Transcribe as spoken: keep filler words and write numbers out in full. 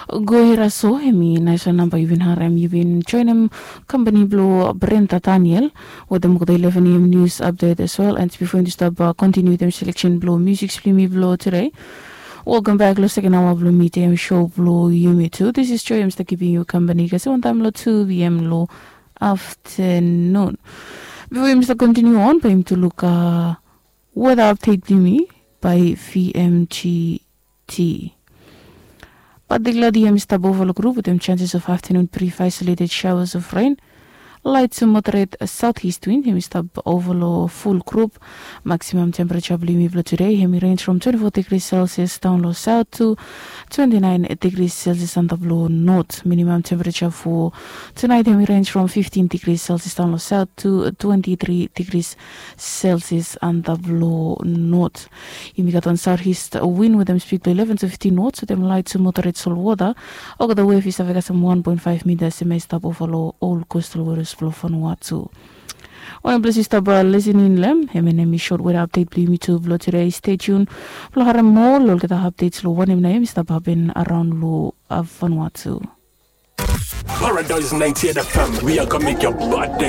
Go hira so hemi naiswan namba yu bin harem, yu bin joinim kampani blong Brenta Daniel wetem olgeta eleven a.m. nius apdet as well. And bifo yumi stap kontiniu wetem seleksen blong musik blong yumi blong tude. Welkam bek long seken aoa blong midiam sho blong yumi tu. This is Joy, em stap givim yu kampani kasi wantaim long two p.m. long afternoon. Bifo yumi stap kontiniu on, bae yumi tu luk weda apdet blong yumi by vmgt. But the cloud yumi stap ova long grup wetem chances of afternoon brief isolated showers of rain. Light to moderate southeast wind yumi stap ova long full grup. Maximum temperature blong yumi blong tude hemi range from twenty-four degrees Celsius down long south to twenty-nine degrees Celsius antap long north. Minimum temperature for tonight hemi range from fifteen degrees Celsius down long south to twenty-three degrees Celsius antap long north. Yumi gat wan southeast wind wetem speed blong eleven to fifteen knots wetem light to moderate salt water. Olgeta wave i save kasem one point five meters, hemi stap ova long ol coastal waters blong Vanuatu. Wanem ples yu stap listening long hem, hemi short weather update blong yumi tu blong tude. Stay tuned blong harem moa long olgeta updates long wanem nao hemi stap hapen araon long Vanuatu. Paradise ninety-eight F M, we are gonna make your body